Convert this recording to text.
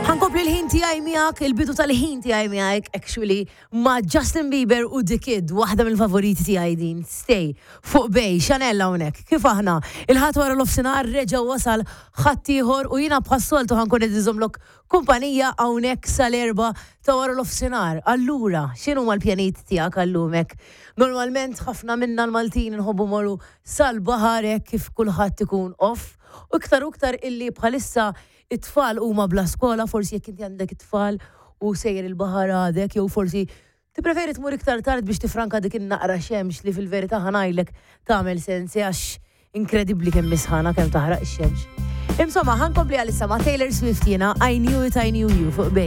Ħa nkompli l-ħin tiegħi miegħek, il-bidu tal-ħin tiegħi miegħek actually ma' Justin Bieber u The Kid, waħda mill-favoriti tiegħi din, Stay, fuq Bay, Chanel hawnhekk. Kif aħna? Il-Ħadd wara nofsinhar reġa' wasal ħadd ieħor u jiena bħas-soltu ħa nkun qed inżommlok kumpanija hawnhekk sal-erbgħa ta' wara nofsinhar. Allura, x'inhuma l-pjanijiet tiegħek għal-lum hekk? Normalment ħafna minna l-Maltin inħobbu morru sal-baħar hekk kif kulħadd ikun off u iktar u iktar illi bħalissa It-tfal huma bla skola, forsi jekk inti għandek it-tfal u sejjer il-baħar għadek, jew forsi tippreferi tmur iktar tard biex tifranka dik in-naqra xemx li fil-verità ħa ngħidlek tagħmel sens għax inkredibbli kemm hi sħana kemm taħraq ix-xemx. Insomma, ħa nkompli għalissa ma' Taylor Swift jiena I Knew It I Knew You fuq Bay.